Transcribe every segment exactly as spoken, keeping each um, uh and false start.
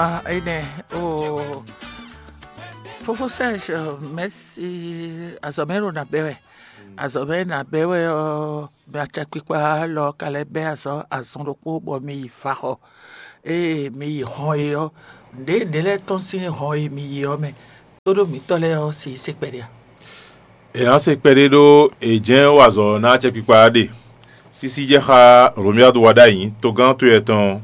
Ah, énɛ́ o, fofó Serge, mɛ̌si. Azɔ̌ mɛ ɖo nǎ bɛ́ wɛ. Azɔ̌ mɛ nǎ bɛ́ wɛ ɔ́, mɛ acɛkpikpa lɔ ka lɛ́ bɛ́ azɔ̌ azɔn ɖokpó bɔ mi yi vaxɔ. Ée mi yi hɔn e ɔ́, nǔɖé nǔɖé lɛ́ɛ tɔ́n sín hɔn e mi yi ɔ́ mɛ, tóɖó mǐtɔn lɛ́ɛ ɔ́ si se kpɛɖé a? È nǎ se kpɛɖé ɖó è jɛ́n wa azɔ̌ ná acɛkpikpa ɔ́ ɖe. Sísí jɛ xá Romuald Wadagni, togán towe tɔn ɔ́,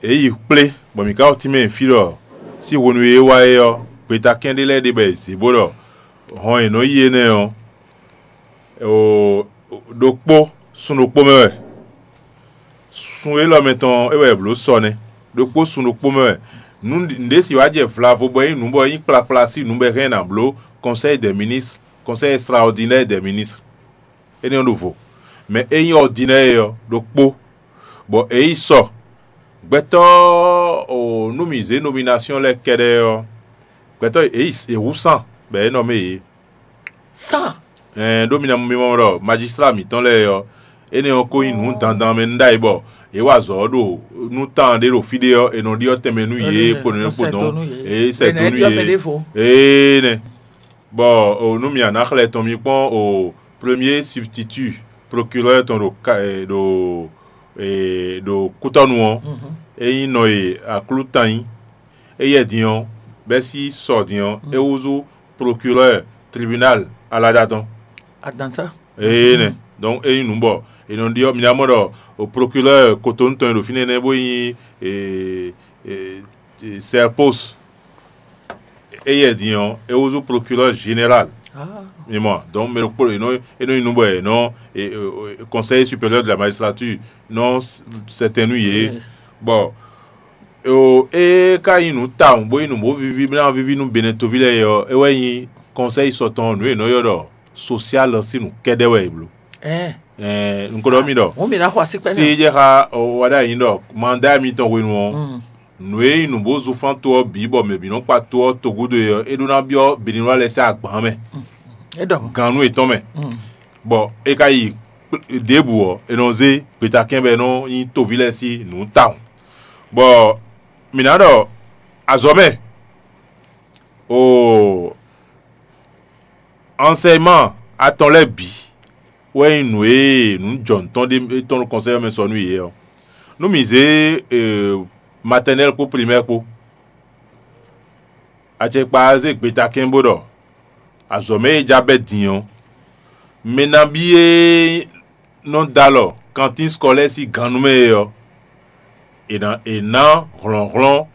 é yi kplé bɔ mǐ ka wɔ tínmɛ fí ɖɔ sín hwenu e é wá é ɔ́, gbeta kɛ́n ɖé lɛ́ɛ ɖe bɔ è zě bó ɖɔ hɔn e nɔ yi énɛ́ ɔ́, ɖokpó sun ɖokpó mɛ wɛ. Sun élɔ́ mɛ tɔn é wɛ è blǒ sɔ nɛ́, ɖokpó sun ɖokpó mɛ wɛ. Nǔɖé si wá jɛ vlavo bɔ é nyí nǔ bɔ é nyí kplakpla sín nǔ bɔ è hɛn ná bló Conseil des ministres, Conseil extraordinaire des ministres. Énɛ́ ɔ́ ɖo vo. Mɛ é nyí ordinaire ɔ́ ɖokpó, bɔ é yi sɔ. Gbɛtɔ́ o nú mǐ zé nomination lɛ́ɛ kɛ́ɖɛ́ ɔ́, gbɛtɔ́ é yi è hú sán bɔ é nɔ mɛ yě. Sán. Ɛn ɖó mi ná mi mɔ ɖɔ majisla mǐtɔn lɛ́ɛ ɔ́, énɛ́ ɔ́ ko nyí nǔ dandan mɛ nú ɖ'ayǐ bɔ yě wa azɔ̌ ɔ́ ɖo nú tán ɖé ɖo fí ɖé ɔ́, è nɔ ɖyɔ́ tɛnmɛ nú yě kpo nǔ kpo dɔn, é sɛ dó nú yě. Ee nɛ. Bɔ o nú mi a nǎ xlɛ́ tɔn mi kpɔ́n o premier substitut procureur tɔn ɖo ɖo ɖo kútɔ́nu ɔ́, é nyí nɔ e aklútan nyí. Éyɛ́ din ɔ́, bɛ́ sí sɔ din ɔ́, é húzú procureur tribunal alada tɔn. Adansa. Ee nɛ. Donc é nyí nǔ bɔ è nɔ ɖyɔ́ mi ná mɔ ɖɔ o procureur Cotonou tɔn e ɖo fínɛ́ nɛ́ bó nyí serpos. Éyɛ́ din ɔ́, é húzú procureur général. Mi mɔ, donc mɛ ɖokpó è nɔ é nɔ nyí nǔ bɔ è nɔ conseil supérieur de la magistrature nɔ sɛtɛn nú yě. Bɔ o é ka nyí nǔ tawun bó nyí nǔ bó víví bó ná víví nú Benɛtoví lɛ́ɛ é ɔ́, é wɛ nyí conseil sɔtɔn nǔ e è nɔ ylɔ́ ɖɔ social sín nǔ kɛ́ɖɛ́ wɛ è blǒ. Ɛɛ, un ko ɖɔ mi ɖɔ hǔn mi ná xɔ asi kpɛ́ sí nɛ. Jɛ xá o wa ɖ'ayǐ ɖɔ mandá mitɔn hwenu ɔ́, nǔ e nyí nǔ bó zunfán to ɔ́ bǐ bɔ mɛ bǐ nɔ kpa to ɔ́ togúdo é ɔ́, é ɖó ná byɔ́ Benilwa lɛ́ɛ sín agban mɛ, É ɖɔ. Gannú yětɔn mɛ, bɔ é ka yi ɖěbǔ ɔ́, è nɔ zé gbetakɛ́n bɔ é nɔ nyí toví lɛ́ɛ sín nǔ tawun. Bɔ mǐ ná ɖɔ azɔ̌ mɛ, o enseignement atɔn lɛ́ɛ bǐ wɛ nyí nǔ e nǔ jɔ nǔ tɔn ɖé tɔn ɖo kɔnsɛ́ mɛ sɔ nú yě ɔ́. Nú mǐ zé maternelle kpó primaire kpó, acɛkpa zé gbetakɛ́n bó ɖɔ azɔ̌ mɛ e ja bɛ́ din ɔ́, mɛ nabí e nɔ dó alɔ kantín scolaire sín gannú mɛ é ɔ́, è nǎ è nǎ hlɔ̌nhlɔ́n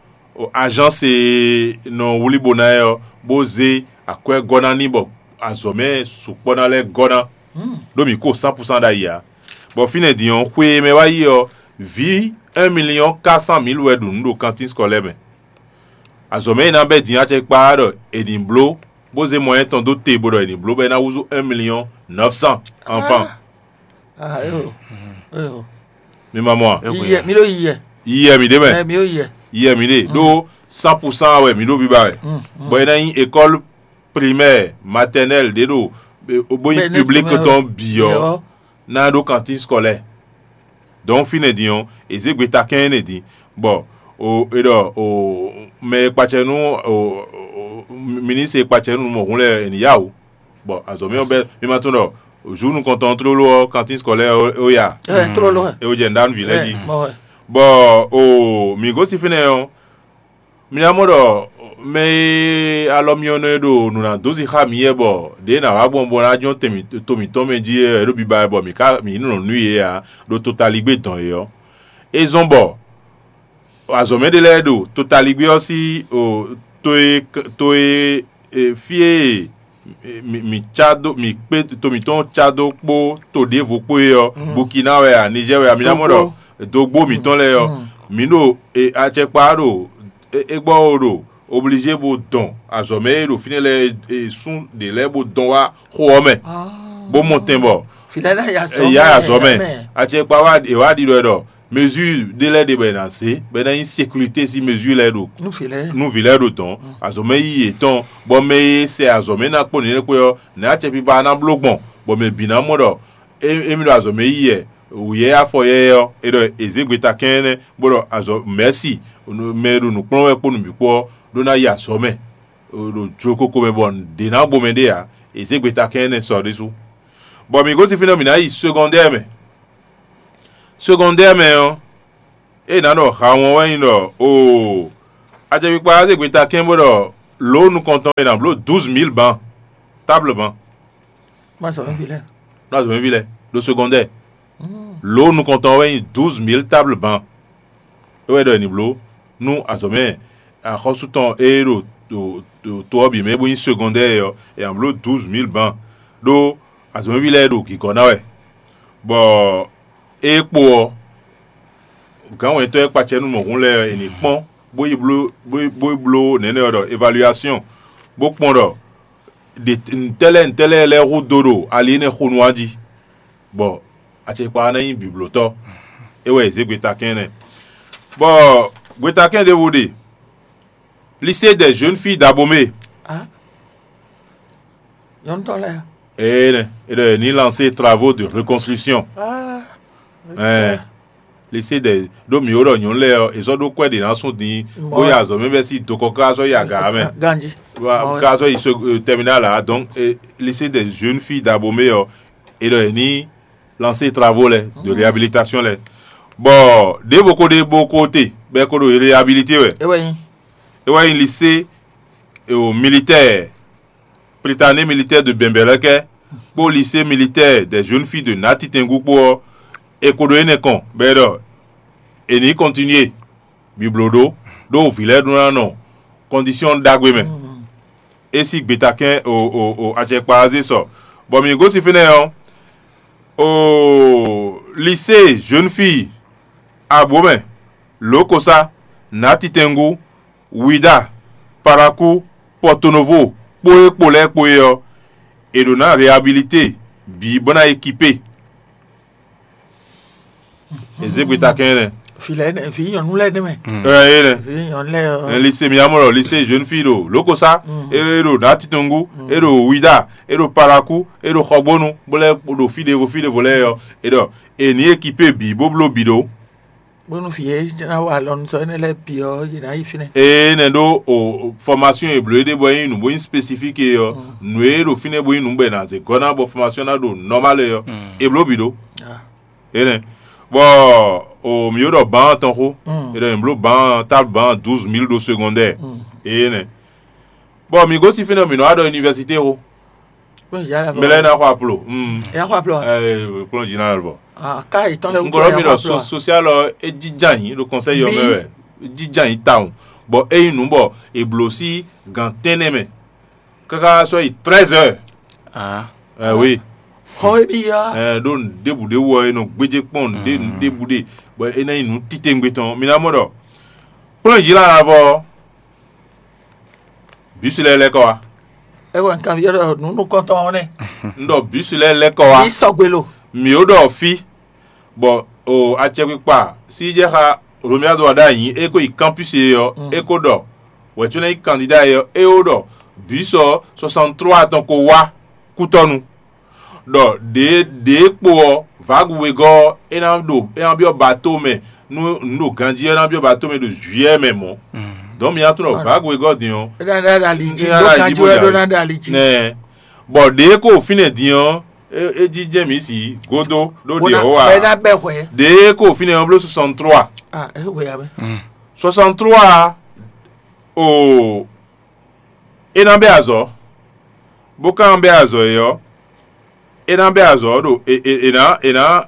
azánsi e nɔ wlí bo ná ɛ ɔ́, bó zé akwɛ́ gɔ́ ná n'i bɔ azɔ̌ mɛ sukpɔ́ ná lɛ́ gɔ́ ná, ɖó mǐ ko cent pour cent ɖ'ayǐ ǎ. Bɔ fínɛ́ din ɔ́, xwe e mɛ wá yi ɔ́, vǐ un million quatre cent mille wɛ ɖu nǔ ɖo kantín scolaire mɛ. Azɔ̌ mɛ e ná bɛ́ din acɛkpa ɔ́ ɖɔ è nǐ bló bó zé mɔyɛ́n tɔn dó te bó ɖɔ è nǐ bló bɔ é ná húzú un million neuf cent enfants. Ah, eyo, eyo. Mi ma mɔ a? Yiyɛ, mi ɖo yiyɛ. Yiyɛ mi ɖe mɛ. Ɛ, mi ɖo yiyɛ. Yiyɛ mi ɖe ɖó cent pour cent wɛ mi ɖo biba wɛ. Bɔ é ná nyí école primaire, maternelle ɖé ɖo bó nyí public tɔn bǐ ɔ́ ná ɖó kantín scolaire. Donc fínɛ́ din ɔ́, è zě gbe takɛ́n énɛ́ din, bɔ o è ɖɔ o mɛ e kpacɛ nú o ministre e kpacɛ nú mɔ̌hun lɛ́ɛ è nǐ yá o. Bɔ azɔ̌ mɛ ɔ́ bɛ́ mi ma tunwun ɖɔ jour nukɔntɔn tlóló ɔ́ kantín scolaire ó ya. Ɛ tlóló ɛ. É wó jɛ nǔɖánú vǐ lɛ́ɛ jí. Bɔ o mǐ gosín fínɛ́ ɔ́, mi ná mɔ ɖɔ mɛ e alɔ myɔ nɔ e ɖo nǔ ná dó zixá mǐ yɛ bɔ ɖě nǎ wá gbɔn bɔ ná jɔ́n to mǐtɔn mɛ jí é ɖo biba wɛ bɔ mǐ ká mǐ nɔ nǔ yě ǎ ɖo totaligbé dɔn é ɔ́. É zɔ́n bɔ azɔ̌ mɛ ɖé lɛ́ɛ ɖo totaligbé ɔ́ sín to e to e fí e mǐ cá dó mǐ kpé to mǐtɔn cá dó kpó to ɖěvo kpó é ɔ́, Bukina wɛ a, Nizɛ́ɛ wɛ a, mi ná mɔ ɖɔ dógbó mǐtɔn lɛ́ɛ ɔ́, mǐ ɖo acɛkpa ɖo é gbɔ ó ɖo oblizé bó dɔn azɔ̌ mɛ e ɖo fínɛ́ lɛ́ɛ e sún ɖě lɛ́ɛ bó dɔn wá xó ɔ́ mɛ, bó mɔ tɛn bɔ ya azɔ̌ mɛ. Acɛkpa wá è wá ɖiɖɔ ɛ ɖɔ mesure ɖé lɛ́ɛ ɖe bɔ è nǎ zé bɔ é ná nyí sécurité sín mesure lɛ́ɛ ɖo nú vǐ lɛ́ɛ ɖo dɔ̌n, azɔ̌ mɛ yíyí yětɔn, bɔ mɛ e sɛ azɔ̌ mɛ ná kpó nǔnywɛ́ kpé ɔ́, nɛ̌ acɛkpikpa ná bló gbɔn, bɔ mɛ bǐ ná mɔ ɖɔ émí ɖo azɔ̌ mɛ yíyí wɛ, wǔyɛ́ afɔ yɛ́yɛ́ ɔ́, é ɖɔ è zě gbeta kɛ́nnɛ́ bó ɖɔ azɔ̌ mɛ̌si mɛ e ɖo nǔ kplɔ́n wɛ kpó nǔ bǐ kpó ɔ́ ɖó ná yi azɔ̌ mɛ ɖo jlokoko mɛ bɔ nǔɖé ná gbɔ mɛ ɖé ǎ. È zě gbeta kɛ́nnɛ́ sɔ ɖésú. Bɔ mǐ gosín fínɛ́ mǐ ná yi segɔndɛ́ɛ mɛ. Segɔndɛ́ɛ mɛ ɔ́, ée nǎ ɖɔ hawɔn wɛ nyí ɖɔ oo, acɛkpikpa ɔ́ zé gbeta kɛ́n bó ɖɔ lǒ nukɔntɔn e nǎ bló douze mille ban, table ban. Má sɔ mɛví lɛ́ɛ. Nú azɔ̌mɛví lɛ́ɛ ɖo segɔndɛ́ɛ. Lǒ nukɔntɔn wɛ nyí douze mille table ban. É wɛ ɖɔ è nǐ bló nú azɔ̌mɛ axɔ́sú tɔn e ɖo ɖo ɖo to ɔ́ bǐ mɛ bó nyí segɔndɛ́ɛ ɔ́, è nǎ bló douze mille ban ɖó azɔ̌mɛví lɛ́ɛ ɖo gǐgɔ́ ná wɛ. Bɔ ée kpo ɔ́, gǎnwɛntɔ́ e kpacɛ nú mɔ̌hun lɛ́ɛ ɔ́, è nǐ kpɔ́n bó yi bló bó yi bó yi bló nɛ̌nɛ ɔ́ ɖɔ évaluation, bó kpɔn ɖɔ ɖe ntɛ́ lɛ́ɛ ntɛ́ lɛ́ɛ lɛ́ɛ hú dó ɖo ali énɛ́ xo nu ɔ́ jí, bɔ acɛkpa ɔ́ ná nyí bǐblótɔ́. É wɛ è zě gbetakɛ́n nɛ́. Bɔ gbetakɛ́n ɖěvo ɖe, lycée des jeunes filles d'Abomey. Nyɔ̌nu tɔn lɛ́ɛ. Ee nɛ, é ɖɔ è ní lancer travaux de reconstruction. Ɛɛ, lycée des ɖó mǐ ó ɖɔ nyɔ̌nu lɛ́ɛ ɔ́, è zɔ́ ɖó kwɛ́ ɖě ná sún din, bó yi azɔ̌ mɛ bɛ́ sí dokɔ ká sɔ́ yi aga mɛ. Ganji. Ká sɔ́ yi so terminal ǎ. Donc, lycée des jeunes filles d'Abomey ɔ́, é ɖɔ è ní lancer travaux lɛ́ɛ de réhabilitation lɛ́ɛ. Bɔ ɖěvo ko ɖe bó ko te bɔ é ko ɖo réhabilité wɛ. É wɛ nyí. É wɛ nyí lycée militaire, Prytanée militaire de Bɛnbɛlɛkɛ kpó lycée militaire des jeunes filles de Natitɛngu kpó ɔ́, è ko ɖo énɛ́ kɔn bɔ é ɖɔ è nǐ continuer bǐbló ɖó ɖó vǐ lɛ́ɛ ɖó ná nɔ condition ɖagbe mɛ. É sí gbetakɛ́n o o o acɛkpa ɔ́ zé sɔ, bɔ mǐ gosín fínɛ́ ɔ́, o lycée jeune fille Abomɛ, Lokosa, Natitɛngu, Wida, Paraku, Pɔtonovo kpó é kpo lɛ́ɛ kpo é ɔ́, è ɖǒ ná réhabilité bǐ bó ná ékipé. È zě gbetakɛ́n nɛ́. Vǐ lɛ́ɛ nɛ, vǐ nyɔ̌nu lɛ́ɛ nɛ́ mɛ. Ɛ é nɛ́. Vǐ nyɔ̌nu lɛ́ɛ ɔ́. Ɛ lycée mi amɔ ɖɔ lycée jeune fille ɖo Lokosa, é ɖo Natitɔngu, é ɖo Wida, é ɖo Paraku, é ɖo Xɔgbónu, bó lɛ́ ɖo fí ɖěvo fí ɖěvo lɛ́ɛ ɔ́, é ɖɔ è ní ékipé bǐ bó bló bǐ ɖó. Bónú vǐ e ná wa alɔ nú sɔ énɛ́ lɛ́ɛ bǐ ɔ́, yě ná yi fínɛ́. Ee nɛ́ ɖó o formation e blǒ é ɖe bɔ é nyí nǔ bó nyí spécifique é ɔ́, nǔ e ɖo fínɛ́ bó nyí nǔ bɔ è nǎ zé gɔ́ ná bɔ formation ná ɖo normal é ɔ́, è blǒ bǐ ɖó. Énɛ́ bɔ o mǐ ɖɔ ban tɔn xó, è ɖɔ mǐ bló ban table ban douze mille ɖo secondaire. Énɛ́ bɔ mǐ gosín fínɛ́ mǐ nɔ wá ɖɔ université xó. Mɛ lɛ́ɛ ná xɔ aplo. Ɛ xɔ aplo. Kplɔ́n jí ná lɔ. Ká yi tɔn lɛ. Ŋkɔlɔ mi ɖɔ social ɔ é jija nyi ɖo conseil ɔ́ mɛ wɛ. É jija nyi tawun. Bɔ é nyí nǔ bɔ è blǒ sí gan tɛ́nnɛ mɛ káká sɔ́ yi treize heures. Ɛ oui. Xɔ é bí ya. Ɛ ɖó nǔɖébǔɖé wɔ é nɔ gbéjé kpɔn nǔɖé nǔɖébǔɖé bɔ é ná nyí nǔ titewungbe tɔn mi ná mɔ ɖɔ kplɔ́n jí ná vɔ bǐsu lɛ́ɛ lɛ́ kɔ wá. É wɛ un kanbyɔ́ ɖɔ nǔ nukɔntɔn ɔ́ nɛ́. Un ɖɔ bǐsu lɛ́ɛ lɛ́ kɔ wá. Ní sɔgbe lo. Mǐ ó ɖɔ fí bɔ o acɛkpikpa sí jɛ xá Romuald Wadagni é ko yi campus e ɔ́, é ko ɖɔ wɛ̌tú ná nyí candidat e ɔ́, é ó ɖɔ bǐsu ɔ́ soixante trois tɔn ko wá kútɔ́nu. Ɖɔ ɖě ɖě kpo ɔ́, vǎgu wegɔ́ ɔ́, é ná ɖo é ná byɔ́ bato mɛ nú nǔ ɖo ganjí ɔ́, é ná byɔ́ bato mɛ ɖo juillet mɛ mɔ̌. Donc mi ná tunɔ vǎgu wegɔ́ din ɔ́, é ná ɖo ali jí, é ná ɖo ɖo ali jí, bó ɖo ná ɖo ali jí. Nɛ bɔ ɖě ko fínɛ́ din ɔ́, é jí jɛ́n mǐ si gódó ɖó ɖě ɔ́ wá. Bɔ é ná bɛ hwɛ. Ɖě ko fínɛ́ ɔ́ bló soixante trois. Ah, é hwɛ ya mɛ. Soixante trois o é ná bɛ azɔ̌, bó ka ná bɛ azɔ̌ é ɔ́, é ná bɛ azɔ̌ ɖo è è è nǎ è nǎ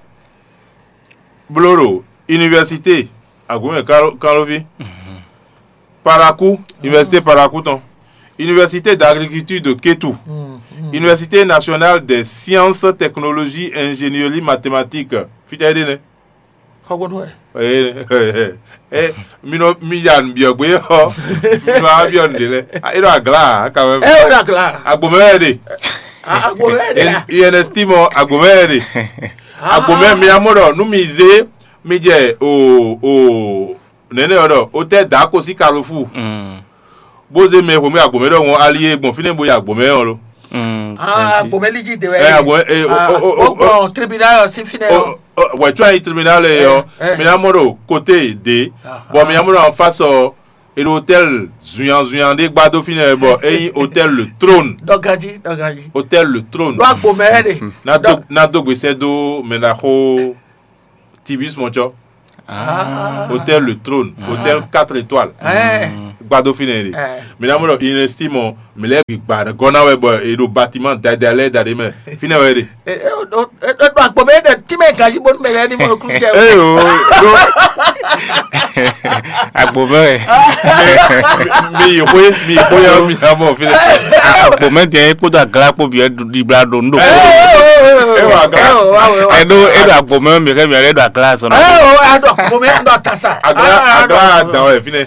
bló ɖo université Agbǒmɛ Kánlóví, Parakou, université Parakou tɔn, université d'agriculture de Kétou, université nationale des sciences, technologie, ingénierie, mathématiques, fítɛ́ ɖé nɛ́. Xɔgbónú wɛ. Ee, ee, mi nɔ mi ya nǔ byɔ́ gbé ɔ́, mi nɔ wá byɔ́ nǔɖé lɛ́ɛ. É ɖo agla ǎ, quand même. É ɖo agla. Agbǒmɛ wɛ ɖe. Agbǒmɛ wɛ ɖe. I N S T mɔ agbǒmɛ wɛ ɖe. Agbǒmɛ mi amɔ ɖɔ nú mi zé mi jɛ o o nɛnɛ ɔ́ ɖɔ o tɛ da ko sí Carrefour. Bó zé mɛ xwemɛ agbǒmɛ ɖɔhun ali e gbɔn fínɛ́ bo yi agbǒmɛ ɔ́ lo. Agbǒmɛ lí jí de wɛ. Ɛ agbǒmɛ e o o o o. Ó gbɔn tribunal ɔ́ sí fínɛ́ ɔ́. Wɛ̌ cɔ́ anyi tribunal ɔ́, mi ná mɔ ɖo côté ɖě, bɔ mi ná mɔ ɖo en face ɔ́, e ɖo hôtel zunyanzunyan ɖé gbá dó fínɛ́ bɔ é nyí hôtel le trône. Ɖɔ ganjí, ɖɔ ganjí. Hôtel le trône. Ɖó agbo mɛ wɛ ɖe. Ná dó ná dó gbèsè dó mɛ ná xó tibis mɔcɔ. Hôtel le trône, hôtel quatre étoiles. Gbá dó fínɛ́ ɖe. Mi ná mɔ ɖɔ inestimɔ mi lɛ́ bǐ gba gɔ́ ná wɛ bɔ è ɖo batiman dada lɛ́ɛ da ɖ'é mɛ. Fínɛ́ wɛ ɖe. Ɖo agbo mɛ ɖe tí mɛ ganjí bónú mɛ lɛ́ɛ ní mɔ nukúnnú jɛ. Eye o ɖo Agbo mɛ wɛ. Mi yi xwé mi yi xwé yá mi ná mɔ fínɛ́. Agbo mɛ dɛn kpódó aglá kpó bǐ wɛ ɖibla ɖo nú ɖo. Ẹ wà gá. Ẹ ɖo ẹ ɖo agbo mɛ mi kɛ mi ɛ ɖo aglá sɔnna. Ɛ o ado agbo mɛ ado atasa. Aglá aglá dan wɛ fínɛ́.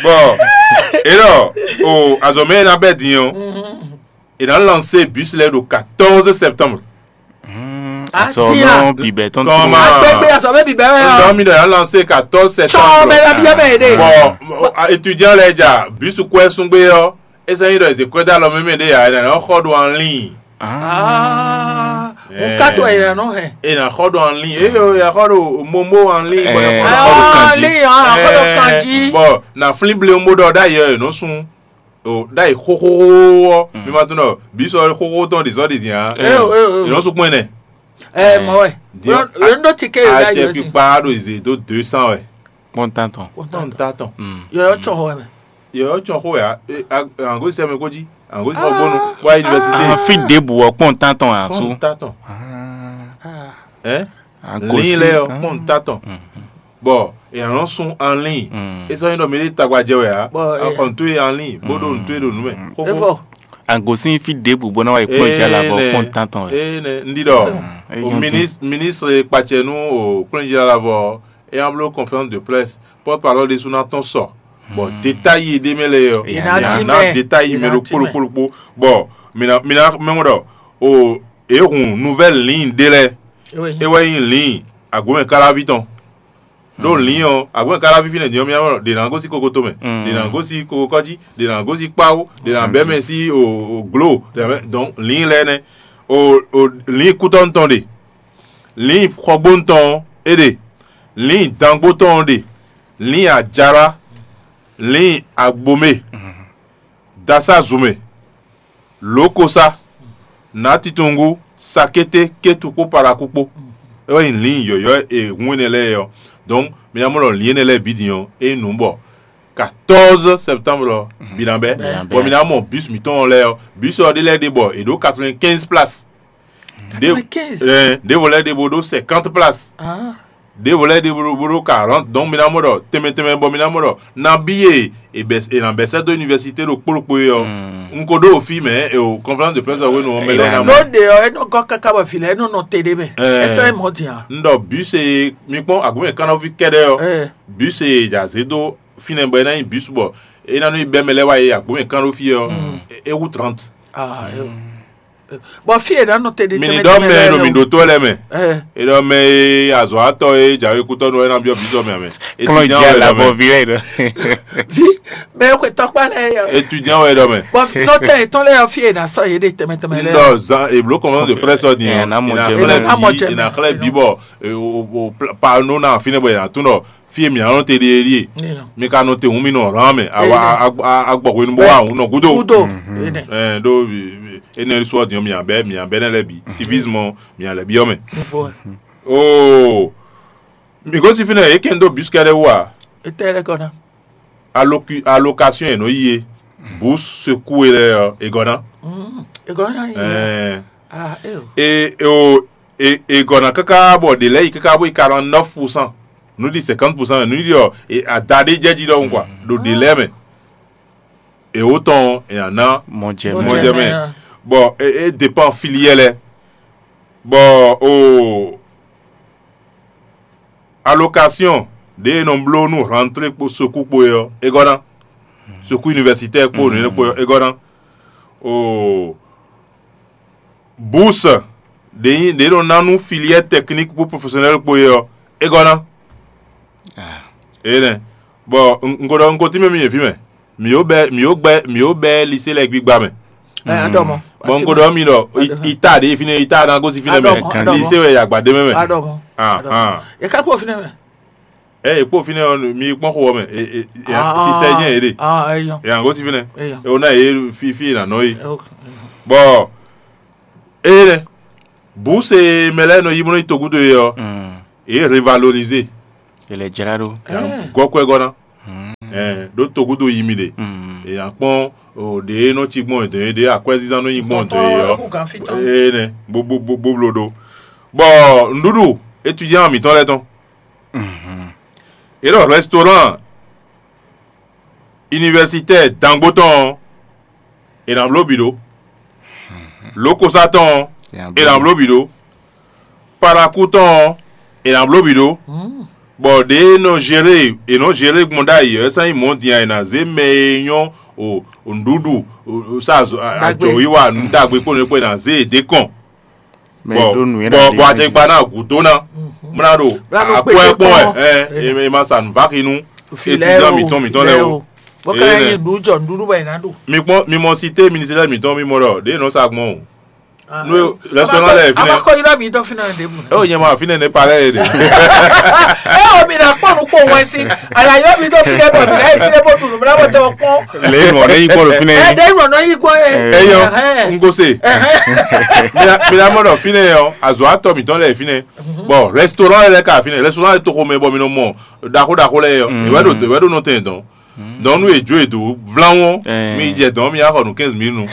Bon, e ɖɔ o azɔ̌ mɛ e ná bɛ́ din ɔ́, e ná lancer bus lɛ́ɛ ɖo quatorze septembre. Azɔ nɔ bibɛ tɔn tɔn ma. Agbègbè azɔ bɛ bibɛ wɛ Ŋdɔ yɔ. Mi ɖɔ yà lancer quatorze Tsɔ mɛ septembre. la bi ɛmɛ yɛ de. Bon, étudiant lɛ́ɛ dza bus kɔɛ sún gbé ɔ́, e sɛ nyi ɖɔ ezě kɔɛ dó alɔ mɛmɛ ɖé yà, e nà xɔ ɖo en ligne. Aa, o ka to yɛ nɔ hɛn. E nà xɔ ɖo en ligne. Eyo, yà xɔ ɖo momo en ligne. Bɔ yà xɔ ɖo Aa, kanji. Li hàn xɔ ɖo kanji. Bɔ na flin ble mo ɖɔ ɖ'ayǐ ɔ́, è nɔ sun o ɖ'ayǐ xóxóxó ɔ́, mi ma tunɔ bisɔ xóxó tɔn ɖi zɔ ɖi din a. Eo eo È nɔ sun kpɔn ɛnɛ. Ɛ mɔ wɛ. Diɔ- Ló ń dó ti ké yɛ Atsɛ yɔ si. Kpikpa ɖo zè dó deux cents wɛ. Kpɔn tantɔn. Kpɔn ta tɔn. Yɔyɔ tsɔ xɔ wɛ mɛ. Yɔ tsɔn xó wɛ a. Angosi sɛmɛ kó jí. Angosi xɔ bónú. Wá université. Afi ɖěbǔ ɔ́ kpɔn tantɔn asu. Kpɔn ta tɔn. Ɛ. Agosi. Lin lɛ ɔ kpɔn ta tɔn. Bɔ èèyàn sun en ligne. E sɔ nyi ɖɔ mi ɖe tagba jɛ wɛ a. Bɔ, Akɔ ntu e en ligne bó ɖo ntu e ɖo nu mɛ. Efɔ. Agosi fi ɖěbǔ bó ná wá yi kpɔn jala bɔ kpɔn tantɔn wɛ. Ee nɛ n ɖi ɖɔ. O ministre kpatsɛ nu o kplɔnjila la vɔ e an blo conférence de presse porte parole de suna tɔn sɔ. Bɔ détail ɖe mɛ lɛ yɔ. Ina ti Na mɛ. Détail mɛ Ina ɖo ti mɛ. Kpolokpolokpo. Bɔ mina mina mɛ ɖɔ o e hun nouvelle ligne ɖe lɛ. E wɛ nyi ligne agomɛ kalavi tɔn. Ɖo ligne ɔ́ agomɛ kalavi fi nɛ din ɔ́ mi ɖe na gosi kokoto mɛ. Ɖe na gosi kokokɔji. Ɖe na gosi kpawo. Ɖe na bɛ mɛ si o glo. Donc ligne lɛ nɛ. O o ligne kutɔnu tɔn ɖe. Ligne xɔgbónu tɔn ɔ́ é ɖe. Ligne dangbo tɔn ɔ́ ɖe. Ligne ajara. Ligne agbomɛ. Dasa zumɛ. Lokosa. Natitungu. Sakete ketu kpó paraku kpó. É wɛ nyí ligne yɔ̌yɔ́ e hun énɛ́ lɛ́ɛ ɔ́. Donc mi ná mɔ ɖɔ ligne énɛ́ lɛ́ɛ bǐ din ɔ́ é nǔ bɔ quatorze septembre ɔ́. Bi ná bɛ́. Bɔ mi ná mɔ bus mǐtɔn lɛ́ɛ ɔ́, bus ɔ́ ɖé lɛ́ɛ ɖe bɔ è ɖǒ quatre-vingt-quinze place. Ɖěvo lɛ́ɛ ɖe bo ɖó cinquante place. Ɖěvo lɛ́ɛ ɖe bo ɖó quarante. Donc mi ná mɔ ɖɔ tɛnmɛ tɛnmɛ bɔ mi ná mɔ ɖɔ nabí e è nǎ bɛ́ sɛ́ dó université ɖo kpóɖokpó é ɔ́, un ko ɖó fí mɛ e o conférence de presse ɔ́ hwenu ɔ́ mɛ lɛ́ɛ ná mɔ. Ló ɖe ɔ́, é nɔ gɔ́ káká bɔ vǐ lɛ́ɛ nɔ nɔ te ɖé mɛ. Ɛ sɔ́ é mɔ̌ din a? Un ɖɔ bus e mi kpɔ́n agbǒmɛ kannɔví kɛ́ɖɛ́ ɔ́, bus e è zě dó fínɛ́ bɔ é ná nyí bus bɔ é ná nɔ yi bɛ́ mɛ lɛ́ɛ wá yi agbǒmɛ kannɔví ɔ́, é wú trente. Bɔ fí e nǎ nɔ te ɖe Mi ní ɖɔ mɛ e nɔ mi ɖo tó lɛ́ɛ mɛ. E ɖɔ mɛ e azɔ̌watɔ́ e jǎwe kútɔ́ nɔ é ná byɔ́ bǐ sɔ mɛ amɛ. Kplɔ́n jɛ alabɔ vi lɛ ɖɔ. Vi mɛ e xwe tɔkpa lɛ yɔ. Étudiant wɛ ɖɔ mɛ. Bɔ nɔtɛ etɔn lɛ yɔ fí e nǎ sɔ yé ɖe tɛmɛ tɛmɛ lɛ. Ndɔ zan eblo kɔmɔ de presse ɔdi Ɛ, yɔ. ná mɔ jɛ Ina mɛ. xlɛ Ina ná mɔ bi jɛ ina mɛ. Xlɛ bi bɔ e, o o o pla- pa no na fine bɔ ina tun dɔ fie mi anɔ te de ye. Mi ka nɔ te hun mi nɔ ran mɛ awa a- a- a- agbɔ hwenu bɔ wa hun nɔ gudo. Kudo. Ene. Ɛ do ene sɔ diɔ mi abɛ mi abɛ ne lɛ bi civisme mi alɛ bi ɔmɛ. Bɔ Oo. Mi gosi fine e kɛn do bus kɛɖɛ wa. Etɛ lɛ kɔna. Allocu- allocation e nɔ yi e bourse secours e lɛ ɔ e gɔna. Egɔna yi. Ɛɛ Ah, eo. E e o e e gɔna kaka bɔ de lɛ yi kaka bɔ yi quarante neuf pour cent. Nu di cinquante pour cent nu di ɔ e ada ɖe jɛ ji ɖɔhun quoi ɖo de lɛ mɛ. Ewo tɔn e ana Mɔ jɛ Mɔ mɛ. Mɔ jɛ jɛ mɛ. Mɛ. Bɔ e e dépend filière lɛ. Bɔ o allocation ɖe e nɔ bló nú rentrée kpo secours kpo e ɔ e gɔna. Secours universitaire kpo nǔ kpo e gɔna. O bourse ɖe nyi ɖe nɔ ná nú filière technique kpo professionnel kpo e ɔ e gɔna. Ah. Eye nɛ. Bɔ n ko ɖɔ n ko tínmɛ mi yě fí mɛ. Mi ó bɛ mi ó gbɛ mi ó bɛ lycée lɛ gbígbá mɛ. Ɛ, a ɖɔ mɔ. Bɔn n ko ɖɔ mi ɖɔ ita ɖe fínɛ́, ita ná gosín fínɛ́ mɛ. Kan di se wɛ yagba ɖe mɛ mɛ. A ɖɔ mɔ. Ah, ah. E ka kpɔ fínɛ́ mɛ. Ɛ, e kpó fínɛ́ ɔ́, mi kpɔ́n xo ɔ́ mɛ. E, e, e, Ah, sisɛ jɛ́n e ɖe. Ah, eyɔn. E ná gosín fínɛ́. Eyɔn. E wɔ ná yě fífí e nǎ nɔ yi. Ok. Bɔ ée nɛ́, bǔ se mɛ lɛ́ɛ nɔ yi bó nɔ yi togúdo e ɔ́, Mm. Yě revalorize. È lɛ jlá ɖó. Yě ná gɔ́ kwɛ́ gɔ́ ná. Mm. Ɛɛ, ɖó togúdo yi mi ɖe. Mm. Yě ná kpɔ́n o ɖě e nɔ cí gbɔn dɔn é ɖě akwɛ́zínzán nɔ nyi gbɔn dɔn é ɔ́. Ée nɛ́ bó bó bó bó bló ɖó. Bɔ nǔɖuɖu étudiant mǐtɔn lɛ́ɛ tɔn. Mhm. Yě ɖɔ restaurant universitaire dangbó tɔn ɔ́, è nǎ bló bǐ ɖó. Lǒkosá tɔn ɔ́, è nǎ bló bǐ ɖó. Parakú tɔn ɔ́, è nǎ bló bǐ ɖó. Bɔ ɖě e nɔ zélé è nɔ zélé gbɔn ɖ'ayǐ ɔ́, é sɔ́ nyí mɔ̌ din a, è nǎ zé mɛ e nyɔ́ o nǔɖuɖu sa ajɔ̌wiwa nǔ ɖagbe kpó nǔ e kpó è nǎ zé yě d'é kɔn. Bɔ bɔ bɔ acɛkpa ná gǔdo ná mla ɖo akwɛ kpɔn wɛ ɛ e ma sa nǔ va xi nú étudiant mǐtɔn mǐtɔn lɛ́ɛ o. Bó ka nyí nǔ jɔ nǔɖuɖu bɔ è nǎ ɖu. Mi kpɔn mi mɔ sité ministère mǐtɔn mi mɔ ɖɔ ɖě nɔ sa gbɔn o. Nú restaurant lɛ fínɛ. Abakɔ yɔrɔ mi dɔ fínɛ de bu. E o nyɛ ma fínɛ ne parɛ ye de. E o mi na kpɔn nu kpɔn wɛn si. Ala yɔrɔ mi dɔ fínɛ bɔ mi na yi fínɛ bɔ dunu mi na bɔ tɛ o kpɔn. Le mɔ ne yi kpɔn lo fínɛ. Ɛ de mɔ nɔ yi kpɔn ye. Eyɔ n ko se. Mi na mɔ ɖɔ fínɛ yɔ azɔ atɔ mitɔn lɛ fínɛ. Bɔn restaurant lɛ ka fínɛ, restaurant lɛ toxo mɛ bɔ mi nɔ mɔ ɖaxó ɖaxó lɛ yɔ. Ìwé ɖo ìwé ɖo nɔ tɛn dɔn. Donc nú è jó è dǒ vláwɔ́n, mi yi jɛ dɔ̌n mi wá xɔ nǔ quinze mille nu.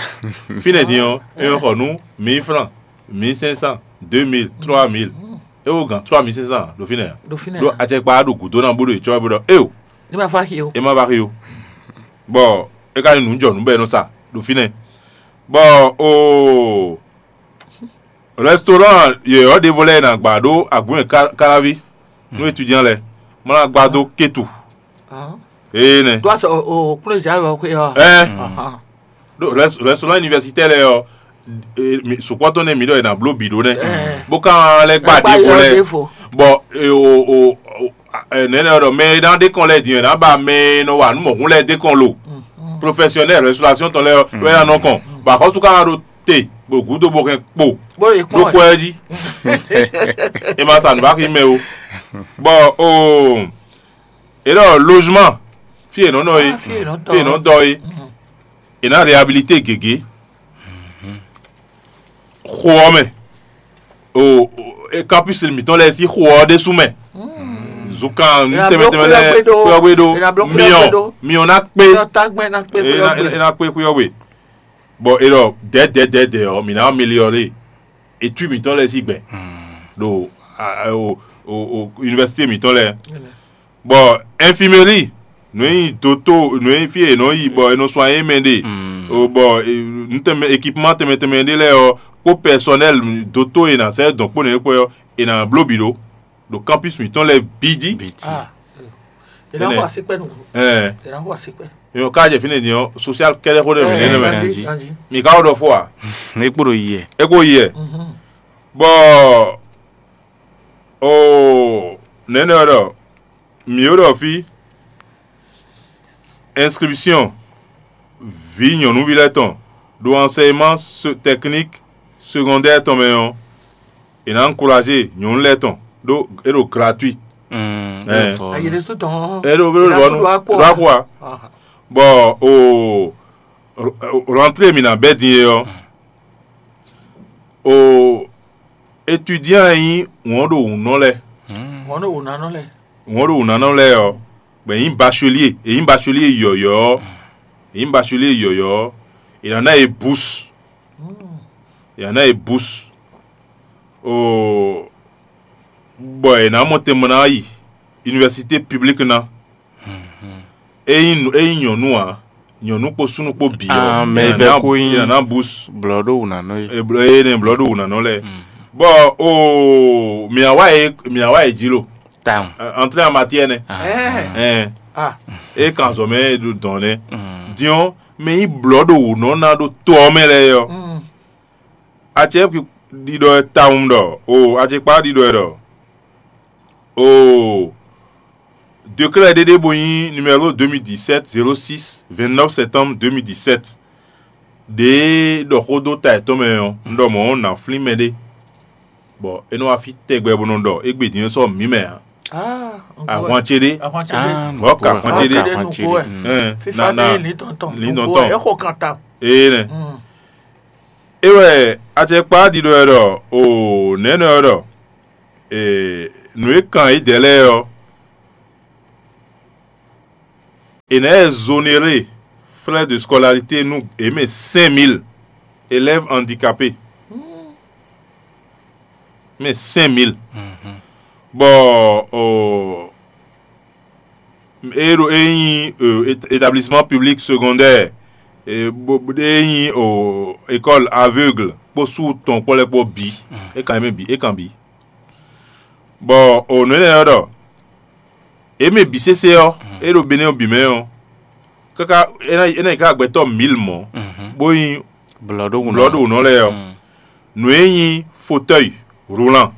Fínɛ́ din ɔ́, è nɔ xɔ nǔ mille francs, mille cinq cents, deux mille, trois mille. É wo gǎn trois mille cinq cents ɖo fínɛ́ ǎ. Ɖo fínɛ́ ɖó ǎ. Acɛkpa ɖo gǔdo ná bó ɖo yě cɔ́ bó ɖɔ éo. Ní ma fá xi o. É má vá xi o. Bɔ é ka nyí nǔ jɔ nǔ bɔ é nɔ sa ɖo fínɛ́. Bɔ oo restaurant yɔ̌yɔ́ ɖěvo lɛ́ɛ è nǎ gbá ɖó agun e káláví nú étudiant lɛ́ɛ, má ná gbá dó kétu. Énɛ́. Tó a sɔ o kúló zǎ lɔ xwé ɔ. Ɛ ɖó restaurant universitaire lɛ́ɛ ɔ, sukpɔ́ tɔn nɛ́ mǐ ɖɔ è nǎ bló bǐ ɖó nɛ́, bó ka lɛ́ gbá ɖěvo lɛ́ɛ, bɔ o o nɛnɛ ɔ́ ɖɔ mɛ e ná ɖe kɔn lɛ́ɛ din ɔ́, è nǎ ba mɛ e nɔ wa nǔ mɔ̌hun lɛ́ɛ d'é kɔn lo. Professionnel restauration tɔn lɛ́ɛ ɔ́ wɛ ná nɔ kɔn, bɔ axɔ́sú ka ná ɖo te bɔ gǔdo bó hɛn kpo ɖó kɔ ɛ jí. È ma sa nǔ bá xi mɛ o. Bɔ o è ɖɔ logement, fí è nɔ nɔ é, fí è nɔ dɔ é, è nǎ réhabilité gěgé. Xo ɔ́ mɛ, o campus mǐtɔn lɛ́ɛ sín xo ɔ́ ɖésú mɛ. Zunkan nú tɛmɛ tɛmɛ lɛ́ɛ kúyɔ́gbé ɖó, miɔ miɔ ná kpé, é ná kpé kúyɔ́gbé. Bɔ è ɖɔ dɛ̌dɛ̌dɛ̌dɛ̌ ɔ́, mǐ ná améliyɔ́ lé étui mǐtɔn lɛ́ɛ sín gbɛ ɖo université mǐtɔn lɛ́ɛ. Bɔ infirmerie, nǔ e nyí doto, nǔ e nyí fí e è nɔ yi bɔ è nɔ sɔn ayé mɛ ɖe, bɔ nǔ tɛnmɛ équipement tɛnmɛ tɛnmɛ ɖé lɛ́ɛ ɔ́, kpó personnel doto e è nǎ sɛ́ dɔn kpó nɛ̌ kpó ɔ́, è nǎ bló bǐ ɖó ɖo campus mǐtɔn lɛ́ɛ bǐ jí. È nǎ xɔ asíkpɛ́ nǔ. Ɛɛ. È nǎ xɔ asíkpɛ́. Mǐ ká jɛ fínɛ́ din ɔ́, social kɛ́ɖɛ́ xó ɖé mǐ nɛ́ mɛ. Mǐ ká wó ɖɔ fó ǎ. É kpo ɖo yi ɛ. É kpo yi ɛ. Bɔ oo nɛ̌nɛ ɔ́ ɖɔ mǐ ó ɖɔ fí inscription vǐ nyɔ̌nuví lɛ́ɛ tɔn ɖo enseignement technique secondaire tɔn mɛ ɔ́, è nǎ encourager nyɔ̌nu lɛ́ɛ tɔn ɖó é ɖo gratuit. Ayi ɖésú tɔn. É ɖo é ɖo ɖo akpɔ ɖo akpɔ a. Bɔ o rentrée mǐ ná bɛ́ din é ɔ́, o étudiant e nyí wɔ̌n ɖo wǔnɔ lɛ́ɛ. Wọ́n ɖo wò nánɔ lɛ. Wọ́n ɖo wǔnánɔ lɛ́ɛ ɔ́, bɔ è nyǐ bachelier, è nyǐ bachelier yɔ̌yɔ́ ɔ́, è nyǐ bachelier yɔ̌yɔ́ ɔ́, è nǎ ná yě bourse. È nǎ ná yě bourse. Oo, bɔ è nǎ mɔ tɛnmɛ ná yi université publique ná. Ényí ényí nyɔ̌nu ǎ, nyɔ̌nu kpó súnnu kpó bǐ ɔ́, mɛ è nǎ vɛ́ ná kó nyí è nǎ ná bourse. Blɔ̌ ɖó wǔnánɔ é. È blɔ̌ é nɛ blɔ̌ ɖó wǔnánɔ lɛ́ɛ. Bɔ oo mǐ wá wá yě mǐ wá wá yě jí lo. Tawun. Entrée en matière nɛ. Ɛɛ. Ɛɛ. Ah. É kan zɔ mɛ é ɖo dɔn nɛ. Din ɔ́, mɛ nyí blɔ̌ ɖo wǔ nɔ ná ɖo to ɔ́ mɛ lɛ́ɛ ɔ́. Acɛ ɖiɖɔ ɛ tawun ɖɔ o acɛkpa ɖiɖɔ ɛ ɖɔ o décret ɖé ɖé bo nyí numéro deux mille dix-sept zéro six vingt-neuf septembre deux mille dix-sept. ɖěe ɖɔ xó dó ta yětɔn mɛ ɔ́, un ɖɔ mɔ̌ ɔ́, nǎ flín mɛɖé, bɔ é nɔ wá fí tɛgbɛ bó nɔ ɖɔ égbé din ɔ́ sɔ́ mǐ mɛ ǎ. Ahwan ce ɖé. Ɔ́ ka ahwan ce ɖé. Fífá na ní lǐndɔn tɔn. Lǐndɔn tɔn. É xo kan ta. Ee nɛ. É wɛ acɛkpá ɖiɖɔ wɛ ɖɔ o nɛ̌ nɔ wɛ ɖɔ nǔ e kan yědɛɛ lɛ́ɛ ɔ́, è nǎ exonéré frais de scolarité nú è mɛ cinq mille élèves handicapés. Mɛ cinq mille. Bɔ o e ɖo e nyí établissement public secondaire, e nyí o école aveugle kpó sous tɔn kpó lɛ́ kpó bǐ. É kan mɛ bǐ é kan bǐ. Bɔ o nǔ énɛ́ ɔ́ ɖɔ é mɛ bǐ sésé ɔ́, é ɖo Benɛ́ ɔ́ bǐ mɛ ɔ́, káká é ná é ná yi ká gbɛtɔ́ mǐl mɔ̌, bó nyí blɔ̌ɖówǔnɔ lɛ́ɛ ɔ́. Nǔ e nyí fauteuil roulant,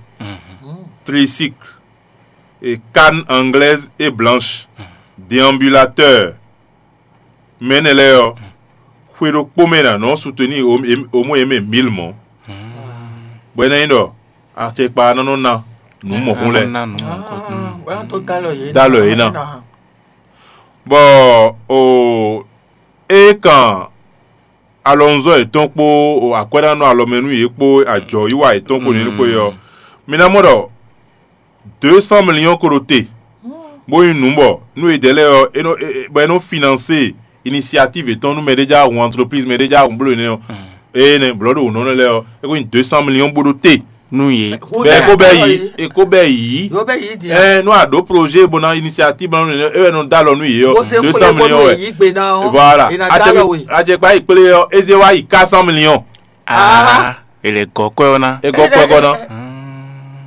tricycle, et canne anglaise et blanche, déambulateur, mɛ énɛ́ lɛ́ɛ ɔ́, xwe ɖokpó mɛ è nǎ nɔ soutenir au moins yě mɛ mǐl mɔ̌, bɔ é ná nyí ɖɔ acɛkpa ná nɔ ná nǔ mɔ̌hun lɛ́ɛ. Dó alɔ yě ná. Bɔ o é kan alɔnuzɔ́ yětɔn kpó akwɛ́nánɔ alɔmɛ nú yě kpó ajɔ̌ yíwa yětɔn kpó nǔ kpó é ɔ́, mi ná mɔ ɖɔ deux cent millions ko ɖo te, bó nyí nǔ bɔ nú yědɛɛ lɛ́ɛ ɔ́, é nɔ é- é- bɔ é nɔ financer initiative yětɔn nú mɛɖé já hun entreprise, mɛɖé já hun bló énɛ́ ɔ́, ée nɛ́ blɔ̌ ɖo wǔnɔ lɛ́ɛ ɔ́, é ko nyí deux cent millions bó ɖó te. Nú yě. Bɛ é kó bɛ yi é kó bɛ yi Yóò bɛ yí di. Ɛ nú àɖó projet bó ná initiative bó ná nú é wɛ nɔ dó alɔ nú yě ɔ́, Bó se deux cent xwlé bó millions nú wɛ. Yí gbe ná ɔ́, Voilà. È nà dó alɔ we. Acɛkpa yi kplé ɔ́, eze wá yi quatre cent millions. Ah, ele gɔkɔɛ ɔ́ ná. Egɔ kpɔgɔ ná.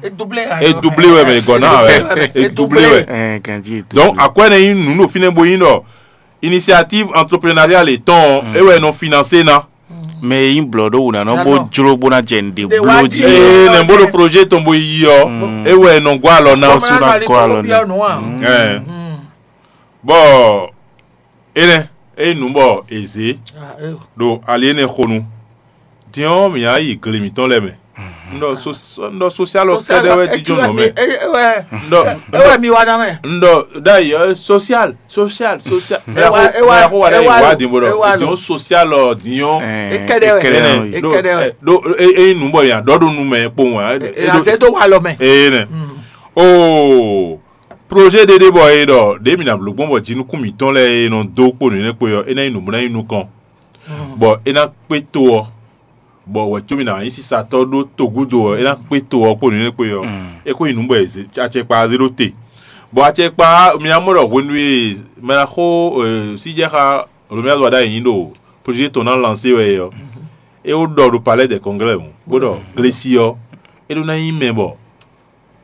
E doublé. E doublé wɛ mɛ egɔ ná wɛ. E doublé wɛ. Ɛ ganji e doublé. Donc akwɛ ne nyí nǔ ɖo fínɛ́ bó nyí ɖɔ initiative entrepreneuriale tɔn ɔ́, é wɛ nɔ financer ná. Mɛ e nyí blɔ̌ɖówǔnánɔ bó jló bó ná jɛ nǔɖé bló jí. Ee nɛ bó ɖo projet tɔn bo yi ɔ́, é wɛ nɔ gɔ́ alɔ ná. Sú ná gɔ́ alɔ ná. Ɛ bɔ énɛ́ é nyí nǔ bɔ è zě ɖo ali énɛ́ xo nu. Din ɔ́, mǐ ná yi gle mǐtɔn lɛ́ɛ mɛ. Un ɖɔ so- un ɖɔ sosial ɔ́ kɛ́ɖɛ́ wɛ jínjɔ́n nɔ mɛ. Un ɖɔ un ɖɔ ɖ'ayǐ ɔ́ sosial sosial sosial. Mɛ yaxó wa ɖ'ayǐ wá din bó ɖɔ din ɔ́ sosial ɔ́ din ɔ́. Ekɛɖɛ wɛ. Ɖo ɖo e nyí nǔ bɔ yǎ ɖɔ ɖo nu mɛ kpowun ǎ. Ènà zé dó wa lɔ mɛ. Ee nɛ. Oo projet ɖé ɖé bɔ è ɖɔ ɖě mǐ ná bló gbɔn bɔ jinukún mǐtɔn lɛ́ɛ e nɔ dó kpo nǔnywɛ́ kpo ɔ́, é ná nyí nǔ bó ná nyí nukɔn, bɔ é ná kpé to ɔ́, bɔ wɛ̌cómì ná nyí sisatɔ́ ɖó togúdo ɔ́, é ná kpé to ɔ́ kpo nǔnywɛ́ kpo ɔ́, é kó nyí nǔ bɔ è zě- acɛkpa zé ɖó te. Bɔ acɛkpa mi ná mɔ ɖɔ hwenu e mɛ ná xó síjɛxá Romuald Wadagni ɖo projet tɔn ná lansé wɛ é ɔ́, é wó ɖɔ ɖo palais des congrès bó ɖɔ Glesi ɔ́, é ɖó ná nyí mɛ bɔ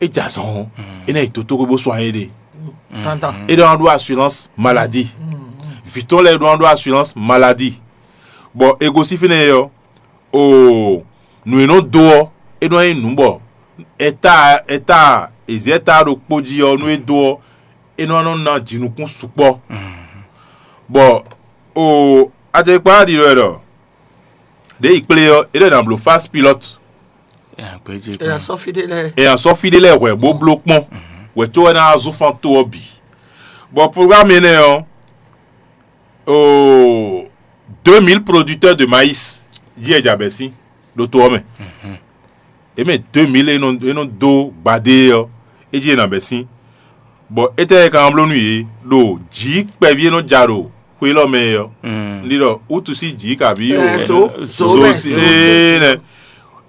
é jɛ azɔn ɔ́, é ná yi dotóxwé bó sɔ́ anyi ɖe. Tantan. É ɖó ná ɖó assurance maladie. Vǐ tɔn lɛ́ɛ ɖó ná ɖó assurance maladie. Bɔ è gosín fínɛ́ ɔ́, oo nǔ e nɔ dó ɔ́, é nɔ nyí nǔ bɔ ɛta ɛta èzí ɛta ɖokpó jí ɔ́, nú é dó ɔ́, é nɔ nɔ ná jinukún sukpɔ́. Bɔ oo acɛkpa ɖiɖɔ wɛ ɖɔ ɖě yi kplé ɔ́, é ɖɔ è nǎ bló phase pilote. È nǎ sɔ́ fí ɖé lɛ́ɛ. È nǎ sɔ́ fí ɖé lɛ́ɛ hwɛ̌ bó bló kpɔ́n, hwɛ̌ có wɛ ná wá zú fan to ɔ́ bǐ. Bɔ programme énɛ́ ɔ́, oo deux mille producteurs de maïs jí è jɛ abɛ̌ sín ɖo to ɔ́ mɛ. È mɛ deux mille e nɔ e nɔ dó gbadé ɔ́, é jí è nǎ bɛ̌ sín. Bɔ étɛ́ e ka nɔ bló nú yě ɖo jǐ kpɛví e nɔ ja ɖo xwe élɔ́ mɛ é ɔ́? Un ɖi ɖɔ wútu sín jǐ kabí Ɛ, zo, zo zo mɛ, sí zo. Ee nɛ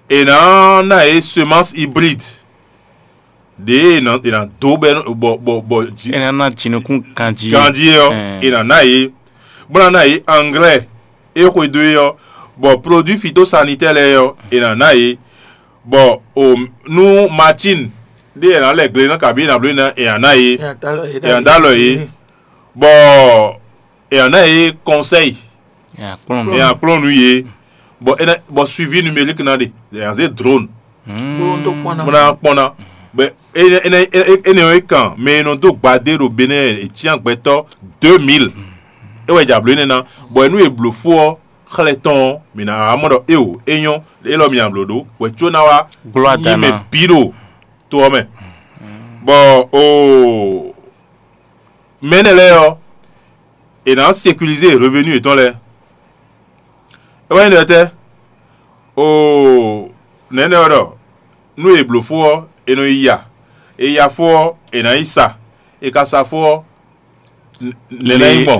è nǎ ná yě semence hybride ɖě è nǎ è nǎ dó bɔ bɔ bɔ bɔ jí É ná ná jinukún ganjí. Ganjí ɔ́, Ɛɛ. È nǎ ná yě bó ná ná yě anglais é xwedó é ɔ́, bɔ produit phytosanitaire lɛ́ɛ ɔ́, è nǎ ná yě, bɔ o nú machine ɖé è nǎ lɛ gle ná kabí è nǎ bló é ná è nǎ ná yě, È nǎ dó alɔ yě è nǎ dó alɔ yě, bɔ è nǎ ná yě conseil, Nya kplɔ́n è nǎ kplɔ́n nú yě, bɔ é ná bɔ suivi numérique ná ɖe, è nǎ zé drone Gbólóhùn tó kpɔ́n ná. Bó ná kpɔ́n ná. Bɔ énɛ́ énɛ́ énɛ́ ɔ́ é kan mɛ e nɔ dó gbadé ɖo Benɛ́ɛ è cyán gbɛtɔ́ deux mille. É wɛ jɛ ablǒ énɛ́ ná, bɔ é nú è blǒ fó ɔ́, xlɛ́ tɔn ɔ́, mǐ ná wá mɔ ɖɔ éeǒ, é nyɔ́, élɔ́ mǐ nǎ bló ɖó hwɛ̌ có ná wá Glóa nyi da mɛ ná. bǐ ɖo to ɔ́ mɛ. Bɔ o mɛ énɛ́ lɛ́ɛ ɔ́, è nǎ sécurisé revenu yětɔn lɛ́ɛ. É wɛ nyí ɖɔ tɛ́? O nɛ̌ nɛ́ wɛ ɖɔ nú è blǒ fó ɔ́, è nɔ yi ya; è ya fó ɔ́, è nǎ yi sa; è ka sa fó ɔ́, nɛ̌ ná nyí gbɔn?